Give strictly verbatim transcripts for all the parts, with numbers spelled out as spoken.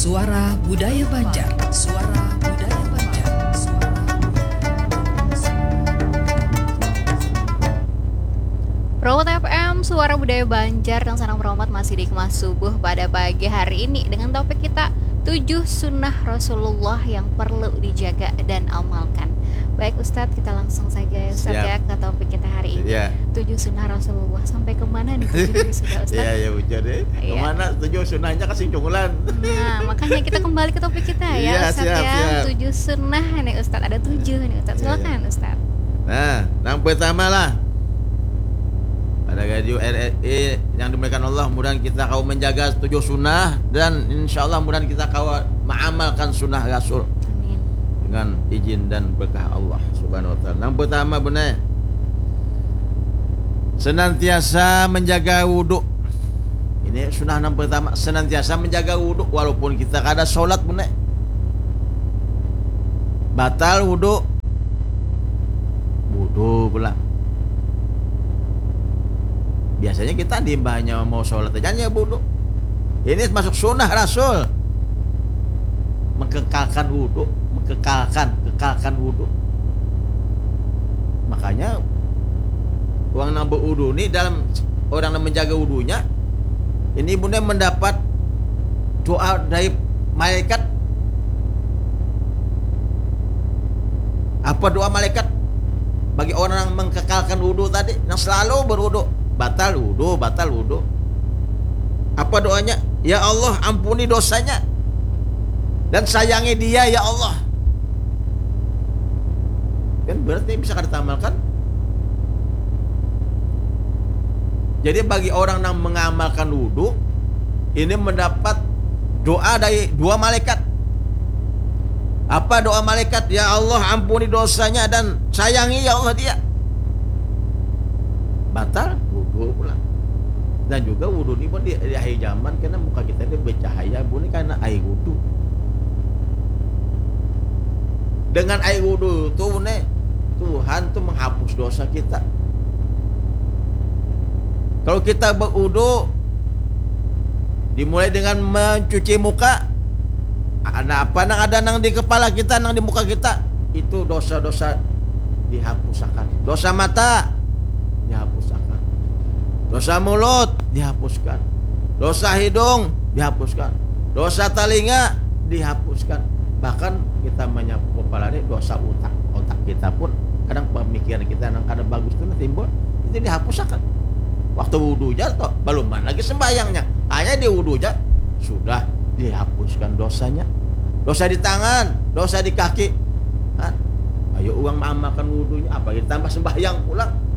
Suara Budaya Banjar. Suara Budaya Banjar. Suara Budaya Banjar. Promote F M, Suara Budaya Banjar, dan sanang promote masih dikemas subuh pada pagi hari ini dengan topik kita tujuh sunnah Rasulullah yang perlu dijaga dan amalkan. Baik Ustadz, kita langsung saja ya Ustadz Siap. ya ke topik kita hari ini. Iya. Tujuh sunnah Rasulullah, sampai kemana nih tujuh ini sudah Ustadz? Iya, iya, bujur deh. Iya. Kemana tujuh sunnahnya kasih cungulan? Nah, makanya kita kembali ke topik kita ya, Iya, Ustadz siap, ya. siap. Tujuh sunnah nih Ustadz, ada tujuh nih Ustadz. Iya, Silakan iya. Ustadz. Nah, yang pertama lah. Pada radio R R I yang dimuliakan Allah, mudahan kita kau menjaga tujuh sunnah dan insya Allah mudahan kita kau mengamalkan sunnah Rasul Amin. dengan izin dan berkah Allah Subhanahu wa taala. Yang pertama benar, senantiasa menjaga wudhu. Ini sunnah yang pertama, senantiasa menjaga wudhu walaupun kita kada sholat benar. Batal wudhu, wudhu pulang. Biasanya kita di imbahnya mau sholat aja hanya wudhu. Ini masuk sunnah Rasul, mengkekalkan wudhu, mengkekalkan, kekalkan wudhu. Makanya orang yang berwudhu ni, dalam orang yang menjaga wudhunya ini, bunda, mendapat doa dari malaikat. Apa doa malaikat? Bagi orang yang mengkekalkan wudhu tadi, yang selalu berwudhu, batal wudhu, batal wudhu. Apa doanya? Ya Allah, ampuni dosanya dan sayangi dia, ya Allah. Kan berarti bisa kada tamalkan. Jadi bagi orang yang mengamalkan wudhu, ini mendapat doa dari dua malaikat. Apa doa malaikat? Ya Allah, ampuni dosanya dan sayangi, ya Allah, dia. Batal wudhu pulang. Dan juga wudhu ni pun di, di akhir zaman kena muka kita ni bercahaya, bu, ni karena air wudhu. Dengan air wudhu tu, ne, Tuhan tu menghapus dosa kita. Kalau kita berwudhu, dimulai dengan mencuci muka, ada apa nang ada nang di kepala kita, nang di muka kita, itu dosa-dosa dihapusakan. Dosa mata dihapusakan. Dosa mulut dihapuskan. Dosa hidung dihapuskan. Dosa talinga dihapuskan. Bahkan kita menyapu kepala ni, dosa utak, otak kita pun kadang pemikiran kita nang kada bagus tu nah timbul, itu dihapusakan. Waktu wudhu ja toh, baluman lagi sembahyangnya, hanya di wudhu ja sudah dihapuskan dosanya. Dosa di tangan, dosa di kaki. Hah? Ayo uang maamalkan wudhunya, apa ditambah sembahyang pulang.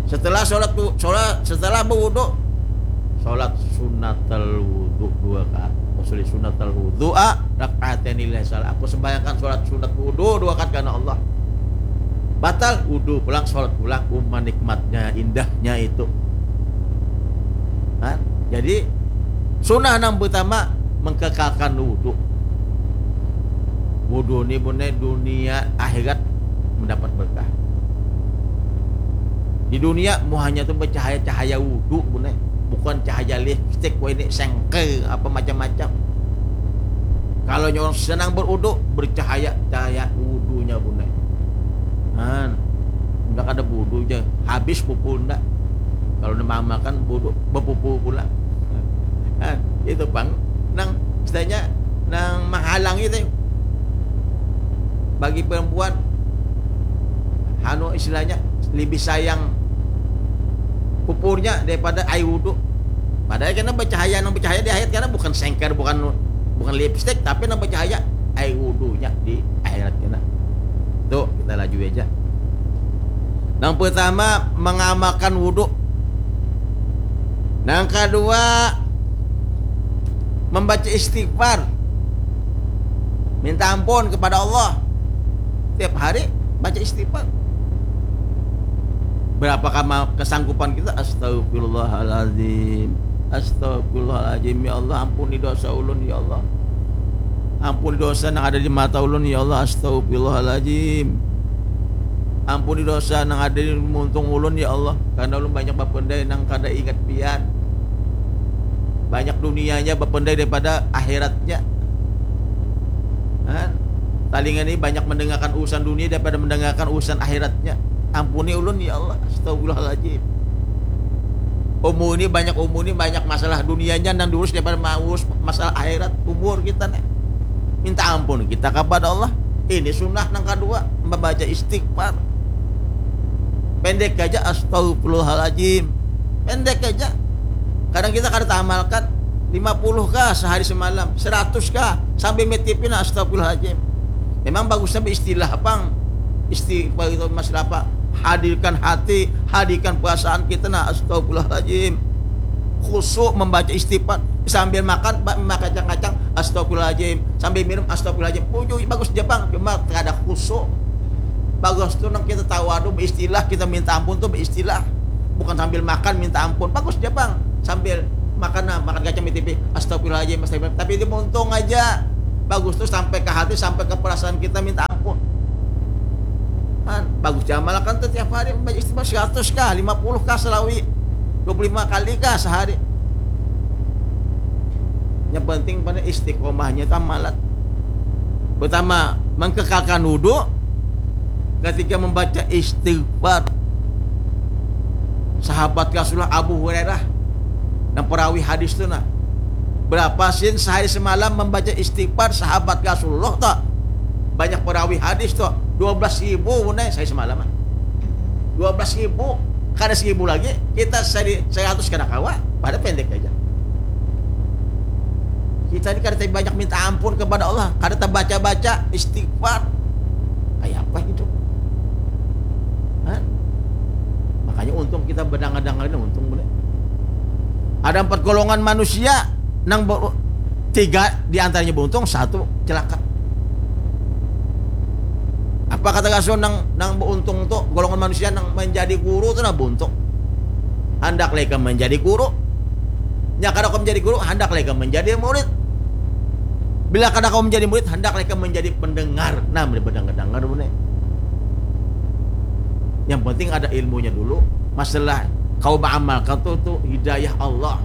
Setelah sholat, sholat setelah berwudhu, sholat sunnatul wudhu dua rakaat. Usolli sunnatul wudhu a rakaatain lillahi salah. Aku sembahyangkan sholat sunat wudhu dua rakaat karena Allah. Batal wudhu pulang, sholat pulang. Uma nikmatnya, indahnya itu. Hah? Jadi sunnah nang pertama, mengkekalkan wudhu. Wudhu ni, bunda, dunia akhirat mendapat berkah. Di dunia muhanya tu bercahaya cahaya wudhu, bunda, bukan cahaya lipstick, wah ini sengker apa macam-macam. Kalau nyawa senang berwudhu, bercahaya cahaya wudhunya, bunda. Nah, ndak ada wudhu ja, habis pupu ndak. Kalau nang makan wudhu, bepupu pula. Nah, itu pang nang istilahnya nang menghalangi teh. Bagi perempuan, anu, istilahnya lebih sayang pupurnya daripada air wudhu. Padahal kena bercahaya, nang bercahaya di akhirat kena bukan sengker, bukan bukan lipstick, tapi nang bercahaya air wudhunya di akhirat kena. Tuh, kita laju aja. Nang pertama, mengamalkan wudhu. Nang kedua, membaca istighfar. Minta ampun kepada Allah. Tiap hari baca istighfar. Berapa kama kesanggupan kita? Astagfirullahaladzim. Astagfirullahaladzim. Ya Allah, ampuni dosa ulun, ya Allah. Ampuni dosa nang ada di mata ulun, ya Allah. Astagfirullahaladzim. Ampuni dosa nang ada di muntung ulun, ya Allah. Karena ulun banyak bapendai nang kada ingat pian. Banyak dunianya bapendai daripada akhiratnya. Kan? Talinga ni banyak mendengarkan urusan dunia daripada mendengarkan urusan akhiratnya. Ampuni ulun ya Allah. Astagfirullahaladzim. Umur ini banyak, umur ini banyak masalah dunianya nang diurus daripada maurus masalah akhirat umur kita nih. Minta ampun kita kepada Allah. Ini sunnah nang kedua, membaca istighfar. Pendek aja, astagfirullahaladzim. Pendek aja. Kadang kita kada tamalkan, lima puluh kah sehari semalam, seratus kah, sambil mitipin, astagfirullahaladzim. Memang bagusnya beristilah pang. Istighfar itu masalah apa? Hadirkan hati, hadirkan perasaan kita, nah, astagfirullahaladzim. Khusyuk membaca istighfar sambil makan, ba- makan kacang-kacang, astagfirullahaladzim. Sambil minum, astagfirullahaladzim. Ujuy, bagus aja pang, cuma kada khusyuk. Bagus tu nang kita tahu, aduh, beristilah, kita minta ampun tu beristilah. Bukan sambil makan minta ampun. Bagus aja pang, sambil makan, nah, makan kacang mitipin, astagfirullahaladzim, astagfirullahaladzim. Tapi itu untung aja. Bagus tu sampai ke hati, sampai ke perasaan kita minta ampun. Kan bagus ja amalkan tu tiap hari membaca istighfar seratus kah, lima puluh kah selawi, dua puluh lima kali kah sehari. Yang penting pada istiqomahnya tamalat. Pertama, mengkekalkan wudhu ketika membaca istighfar. Sahabat Rasulullah Abu Hurairah, nang perawi hadis tu nah, berapa sin sehari semalam membaca istighfar sahabat Rasulullah tu? Banyak perawi hadis tu, dua belas ribu, nah, sehari semalam, ah. Dua belas ribu, kada seribu lagi, kita seri-, seratus kada kawa, pada pendek aja. Kita ini kada banyak minta ampun kepada Allah, kada terbaca-baca istighfar. Kayak apa hidup? Hah? Makanya untung kita berdangar-dangar ini, untung boleh. Ada empat golongan manusia nang be-, tiga di antaranya beruntung, satu celaka. Apa kata Rasul nang, nang beruntung tu, golongan manusia nang menjadi guru tu nah beruntung. Handak leka menjadi guru. Nya kada kau menjadi guru, handak leka menjadi murid. Bila kada kau menjadi murid, handak leka menjadi pendengar. Nah, menjadi pendengar-dengar benar. Yang penting ada ilmunya dulu. Masalah kau mengamalkan tu, tu hidayah Allah.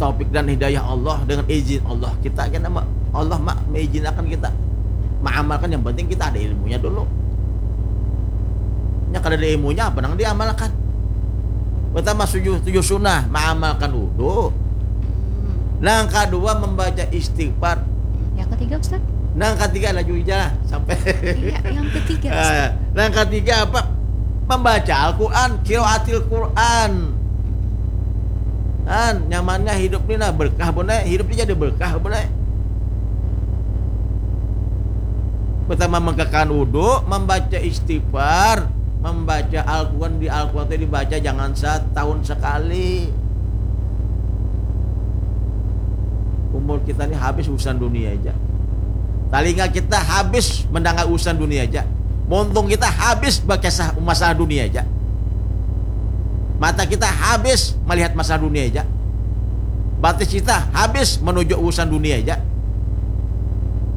Taufik dan hidayah Allah dengan izin Allah. Kita kena ma-, Allah ma-, mengizinakan kita mengamalkan, yang penting kita ada ilmunya dulu. Nya kada ada ilmunya, apa nang diamalkan? Pertama, tujuh, tujuh sunnah, mengamalkan wudhu. Hmm. Nang kedua, membaca istighfar. Yang ketiga, Ustaz? Nang ketiga, laju aja sampai. Iya, yang ketiga, Ustaz. Ah, nang ketiga apa? Membaca Al-Quran, qiraatil Quran. Kan, nyamannya hidup ni nah, berkah, Bun, eh. Hidup ni jadi berkah, Bun, eh. Pertama, mengkekalkan wudhu, membaca istighfar, membaca Al-Quran. Di Al-Quran itu dibaca jangan setahun sekali. Umur kita ni habis urusan dunia aja. Talinga kita habis mendengar urusan dunia aja. Muntung kita habis berkisah masalah dunia aja. Mata kita habis melihat masalah dunia aja. Batis kita habis menuju urusan dunia aja.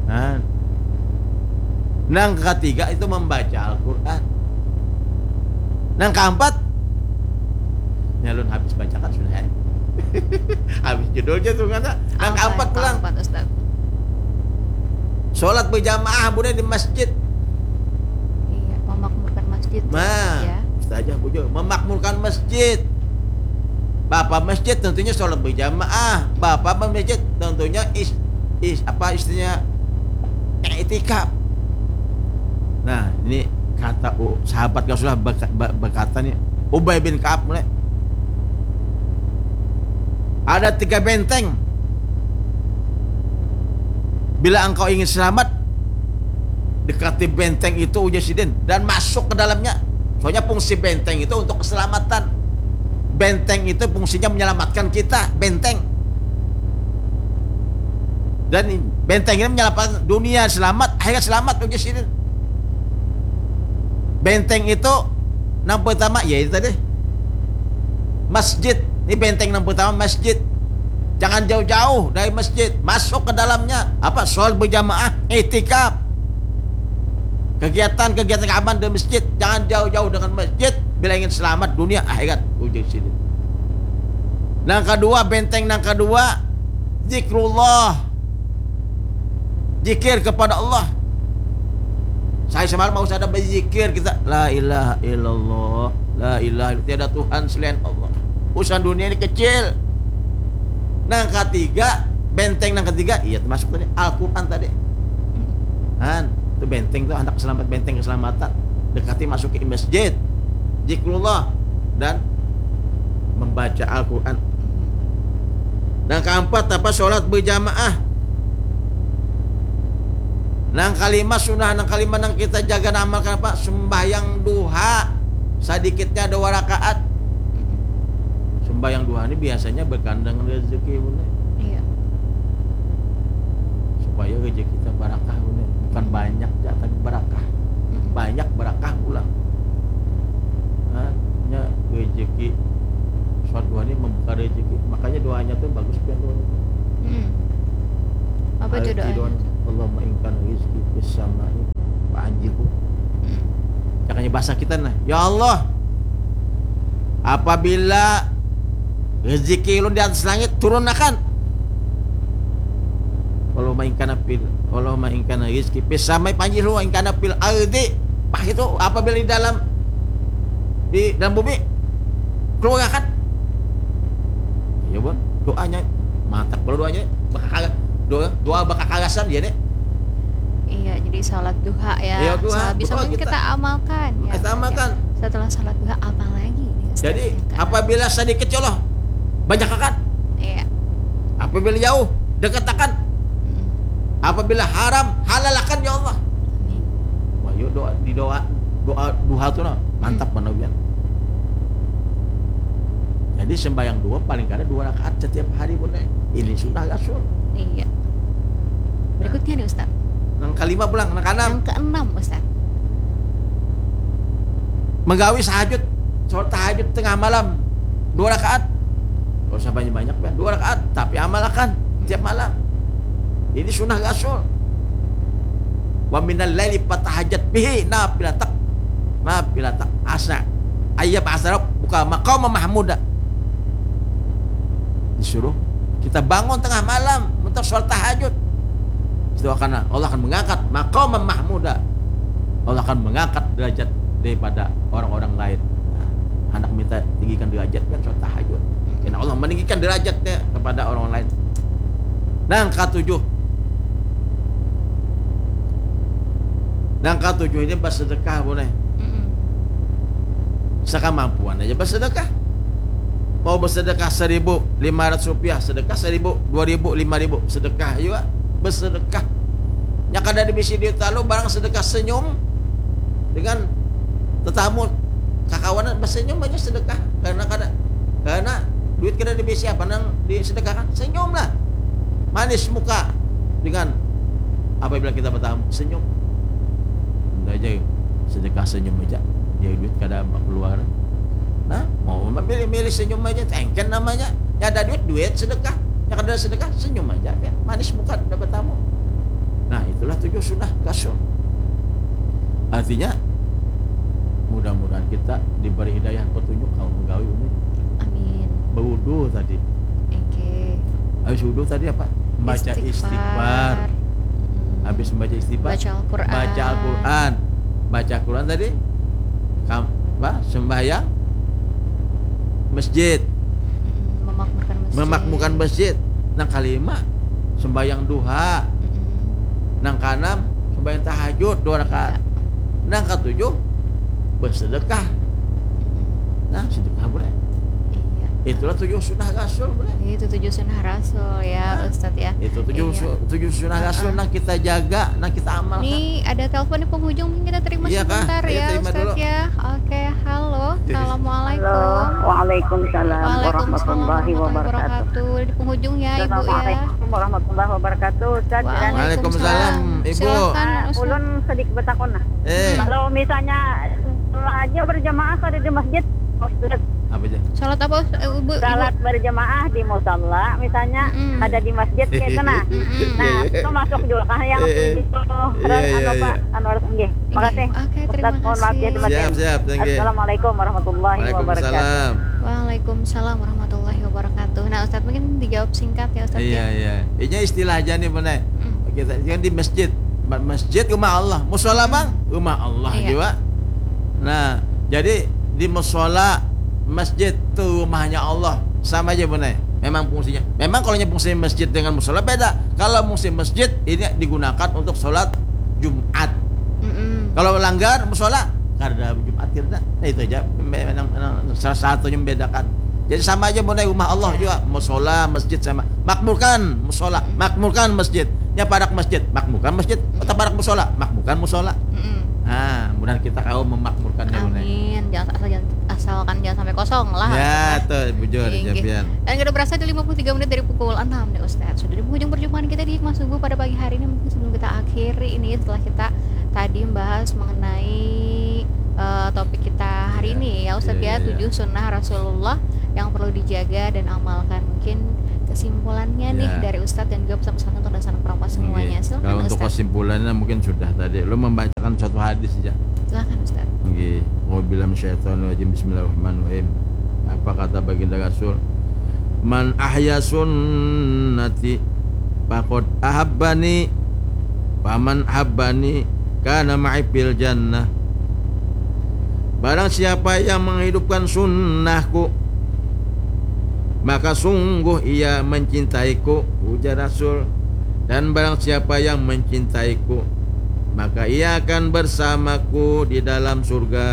Nah. Nang ketiga itu membaca Al-Quran. Nang keempat, nyalun habis bacakan sudah, eh. Habis judulnya tu ngana. Nang keempat pulang. Keempat, Ustaz? Sholat berjamaah, Bun, eh, di masjid. Iya, memakmurkan masjid, nah, ya. Ustazah bujur, memakmurkan masjid. Bapa masjid tentunya sholat berjamaah. Bapa masjid tentunya is-, is-, apa istilahnya, iktikaf. Nah, ini kata u-, sahabat Rasulullah berka-, ber-, berkata nih, Ubay bin Ka'ab mulai, ada tiga benteng. Bila engkau ingin selamat, dekati benteng itu, ujar sidin, dan masuk ke dalamnya. Soalnya fungsi benteng itu untuk keselamatan. Benteng itu fungsinya menyelamatkan kita, benteng. Dan benteng ini menyelamatkan dunia selamat, akhirat selamat, ujar sidin. Benteng itu nang pertama, ya itu tadi. Masjid. Ini benteng nang pertama, masjid. Jangan jauh-jauh dari masjid. Masuk ke dalamnya. Apa? Sholat berjamaah, iktikaf. Kegiatan-kegiatan keamanan di masjid. Jangan jauh-jauh dengan masjid bila ingin selamat dunia akhirat, ujar sidin. Nang kadua, benteng nang kadua, zikrullah. Zikir kepada Allah. Sahari semalam harus ada berzikir kita, la ilaha illallah, la ilaha, tiada Tuhan selain Allah. Urusan dunia ini kecil. Nang katiga, benteng nang katiga, iya, termasuk tadi Al-Quran tadi. Han, itu benteng tuh, anak selamat, benteng keselamatan. Dekati, masuki masjid, zikrullah, dan membaca Al-Quran. Nang keempat apa? Sholat berjamaah. Nang kalima sunnah, nang kalima nang kita jaga, nang amalkan apa? Sembahyang duha, sedikitnya dua rakaat. Sembahyang duha ini biasanya berkandang rezeki, bunda. Iya. Supaya rezeki kita barakah, bunda. Bukan banyak ya, tapi barakah. Mm-mm. Banyak barakah pulang. Nah, nya rezeki, sholat duha ini membuka rezeki. Makanya doanya tuh bagus, pian, doanya tuh. Mm-mm. Apa itu Arti doanya? Doanya, Allahumma in kana rizki fis samai fa anjilhu. Mm-mm. Makanya bahasa kita nah, ya Allah, apabila rezeki ulun di atas langit, turunakan. Allahumma in kana fil, Allahumma in kana rizki fis samai fa anjilhu, in kana fil ardi. Pah itu, apabila di dalam, di dalam bumi, keluarkan. Ya, bun, doanya mantap kalau doanya bakakala-, doa, doa bakakalasan dia nih. Iya, jadi sholat duha ya. Iya, duha, Sholat bisa duha mungkin kita. Kita amalkan ya. Kita amalkan. Setelah sholat duha apa lagi nih, Ustaz? Jadi Yang kan? Apabila sedikit, ya Allah, banyakakan. Iya. Apabila jauh, dekatakan. Mm-mm. Apabila haram, halalakan, ya Allah. Amin. Wah, yuk doa, di doa, doa duha tuh nah, mantap Hmm. mana, Bian. Jadi sembahyang duha paling kada dua rakaat setiap hari, bunda. Ini sunnah Rasul. Iya. Berikutnya nih, Ustaz. Nang kalima pulang, nang kaenam. Yang keenam, Ustaz. Menggawi sahajud, sholat tahajud tengah malam, dua rakaat. Gak usah banyak-banyak, Bian. Dua rakaat, tapi amalakan tiap malam. Ini sunnah Rasul. Wa minal laili fatahajjad bihi nafilatak, nafilatak asa ayyab'atsaka rabbuka maqaman mahmuda. Disuruh kita bangun tengah malam untuk sholat tahajud. Itu akan, Allah akan mengangkat maqaman mahmuda. Allah akan mengangkat derajat daripada orang-orang lain. Nah, anak minta tinggikan derajat kan sholat tahajud. Karena Allah meninggikan derajatnya kepada orang lain. Nang katujuh. Nang katujuh ini bersedekah, boleh. Mm-mm. Sekemampuan aja bersedekah. Mau bersedekah seribu lima ratus rupiah, sedekah seribu, dua ribu, lima ribu, sedekah juga. Bersedekah. Nya kada ada bisi duit lalu, barang sedekah senyum dengan tetamu, kakawanan, bersenyum aja sedekah. Karena kada, karena duit kada ada bisi apa nang disedekahkan, senyum lah. Manis muka dengan apabila kita bertamu, senyum. Udah aja, sedekah senyum aja. Dia duit kada keluar. Nah, mau memilih-milih senyum aja, tengken namanya. Ya ada duit, duit sedekah. Ya kada ada sedekah, senyum aja. Ya. Manis muka dapat tamu. Nah, itulah tujuh sunnah Rasul. Artinya, mudah-mudahan kita diberi hidayah, petunjuk, kalau menggawi ini. Amin. Berwudu tadi. Oke. Habis wudu tadi apa? Baca istighfar. Mm-mm. Habis membaca istighfar, Baca Al-Quran. Baca Al-Quran. Baca Al-Quran tadi, kam, apa? Sembahyang masjid. Mm-mm. Memakmurkan masjid. Memakmurkan masjid. Nang kalima, sembahyang duha. Mm-mm. Nang kaenam, sembahyang tahajud dua rakaat. Ya. Nang katujuh, bersedekah. Mm-mm. Nah, sedekah boleh. Iya. Itulah tujuh sunnah Rasul, boleh. Itu tujuh sunnah Rasul ya, Hah? Ustadz ya. Itu tujuh Iya. su- tujuh sunnah Rasul Heeh. Nang kita jaga, nang kita amalkan. Nih ada telepon di penghujung, mungkin kita terima Iya, Kak. sebentar Iya, ya, terima Ustadz dulu. Ya. Oke, halo, assalamualaikum. Halo, waalaikumsalam Waalaikumsalam warahmatullahi warahmatullahi wabarakatuh. Wabarakatuh. Di penghujung ya, Ibu ya. Assalamualaikum warahmustah wabarakatuh. Ustaz, Waalaikumsalam. Waalaikumsalam, Ibu. Silakan, Ah, Ustaz. Ulun sedikit bertakun nah. Eh. Kalau misalnya aja berjamaah kada di masjid, Ustaz. Apa aja? Salat apa, Ustaz? Eh, Ibu, Ibu? Salat berjamaah di musala, misalnya Mm-mm. kada di masjid kayak itu nah. Mm-mm. Nah, itu masuk juga kah yang Eh, eh. itu? Iya, Ran, iya, anu, iya. Pak Anwar, nggih. Makasih. Oke, Ustaz, terima mohon maaf ya, kasih. terima kasih. Siap, siap, thank you. Assalamualaikum warahmatullahi wabarakatuh. Waalaikumsalam. Waalaikumsalam warahmatullahi wabarakatuh. Nah, Ustadz, mungkin dijawab singkat ya, Ustadz, iya ya. Iya, ini istilah aja nih, Bunda. Kita kan di masjid. Ma- Masjid rumah Allah, musola bang, rumah Allah Iya. juga. Nah, jadi di musola, masjid tuh rumahnya Allah, sama aja, Bunda. Memang fungsinya. Memang kalau fungsi masjid dengan musola beda. Kalau fungsi masjid ini digunakan untuk sholat Jumat. Mm-mm. Kalau langgar musola, kada Jumat kita. Nah, itu aja. Memang, memang salah satunya membedakan. Jadi sama aja, Bunda, rumah Allah juga, musola, masjid sama. Makmurkan musola, makmurkan masjid. Ya, parak masjid, makmurkan masjid. Atau parak musola, makmurkan musola. Mm-mm. Nah, mudah kita kau memakmurkannya, Bunda. Amin. Jangan asal jangan, asalkan jangan sampai kosong lah. Ya, tuh bujur, Inggih. Japian. Dan kita berasa di lima puluh tiga menit dari pukul enam nih, Ustadz. Sudah di penghujung perjumpaan kita di Hikmah Subuh pada pagi hari ini. Mungkin sebelum kita akhiri ini, setelah kita tadi membahas mengenai eh, topik kita hari Iya. ini ya, Ustadz, Iya, ya, iya, iya. Tujuh sunnah Rasulullah yang perlu dijaga dan amalkan. Mungkin kesimpulannya nih Iya. dari Ustadz dan juga pesan-pesan untuk dan sanak perompak semuanya. Oke. Silakan, Kalau untuk Ustadz. Kesimpulannya mungkin sudah tadi. Lu membacakan suatu hadis aja. Silakan, Ustadz. Nggih, auzubillahi minasyaitonirrajim. Bismillahirrahmanirrahim. Apa kata baginda Rasul? "Man ahya sunnati faqad ahabbani, faman ahabbani kana ma'i fil jannah." Barang siapa yang menghidupkan sunnahku, maka sungguh ia mencintaiku, ujar Rasul. Dan barang siapa yang mencintaiku, maka ia akan bersamaku di dalam surga.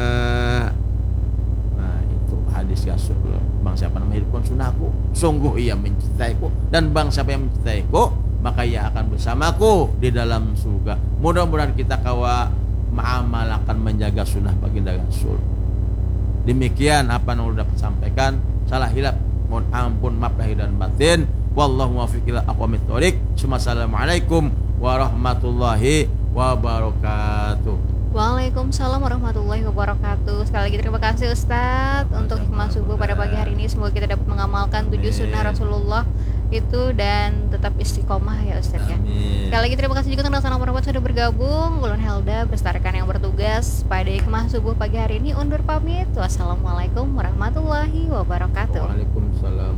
Nah, itu hadis Rasul. Bang siapa nama hidupkan sunnahku, sungguh ia mencintaiku. Dan bang siapa yang mencintaiku, maka ia akan bersamaku di dalam surga. Mudah-mudahan kita kawa mengamalkan, menjaga sunnah baginda Rasul. Demikian apa yang ulun dapat sampaikan. Salah hilap, mohon ampun, maaf lahir dan batin. Wallahu muwaffiq ila aqwamit thoriq. Summa assalamualaikum warahmatullahi wabarakatuh. Waalaikumsalam warahmatullahi wabarakatuh. Sekali lagi terima kasih, Ustadz, untuk hikmah subuh pada pagi hari ini. Semoga kita dapat mengamalkan tujuh Amin. Sunnah Rasulullah itu dan tetap istiqomah ya, Ustadz, ya. Amin. Sekali lagi terima kasih juga untuk sanak perompak sudah bergabung. Ulun Helda beserta rekan yang bertugas pada hikmah subuh pagi hari ini undur pamit. Wassalamualaikum warahmatullahi wabarakatuh. Waalaikumsalam.